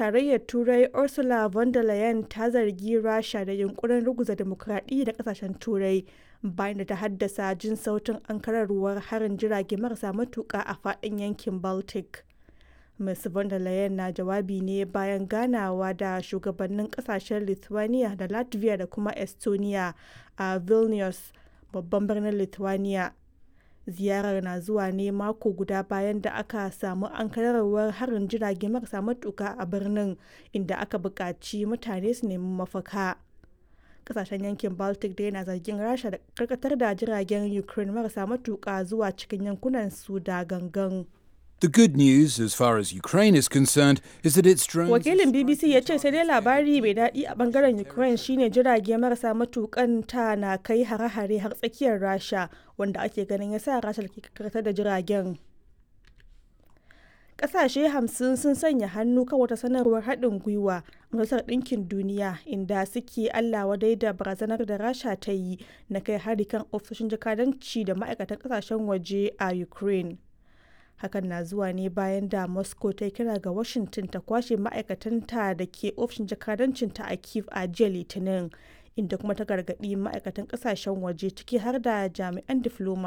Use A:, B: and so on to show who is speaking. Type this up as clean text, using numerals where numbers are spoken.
A: Tarayyar Turai Ursula von der Leyen ta zargi Rasha da yunkurin ruguza dimokuraɗiyya da kasashen Turai bayan da ta haddasa jin sautin ankararwar harin jirage marasa matuƙa a faɗin yankin Baltic. Ms. von der Leyen na jawabi ne bayan ganawa da shugabannin kasashen Lithuania da Latvia da kuma Estonia a Vilnius, babban birnin Lithuania. Ziyarar na zuwa ne mako guda bayan da aka samu ankararwar harin jirage marasa matuka a birnin, inda aka buƙaci mutane su nemi mafaka. Kasashen yankin Baltic dai na zargin Rasha da karkatar da jiragen Ukraine marasa matuka zuwa cikin yankunan su da gangan.
B: The good news, as far as Ukraine is concerned, is that its drones.
A: Wakilin BBC ya ce sai dai labari mai daɗi a bangaren Ukraine shine jirage marasa matukan ta na kai hare-hare har tsakiyar Rasha, wanda ake ganin ya sa Rasha ke karkatar da jiragen. Ƙasashe 50 sun sanya hannu kan wata sanarwar haɗin gwiwa a Majalisar Ɗinkin Duniya inda suke Allah wadai da barazanar da Rasha ta yi na kai hari kan ofisoshin jakadanci da ma'aikatan ƙasashen waje a Ukraine. Hakan na zuwa ne bayan da Moscow ta kira ga Washington ta kwashe ma'aikatanta da ke ofishin jakadancinta a Kiev a jiya Litinin, inda kuma ta gargaɗi ma'aikatan ƙasashen waje, ciki har da jami'an difloma.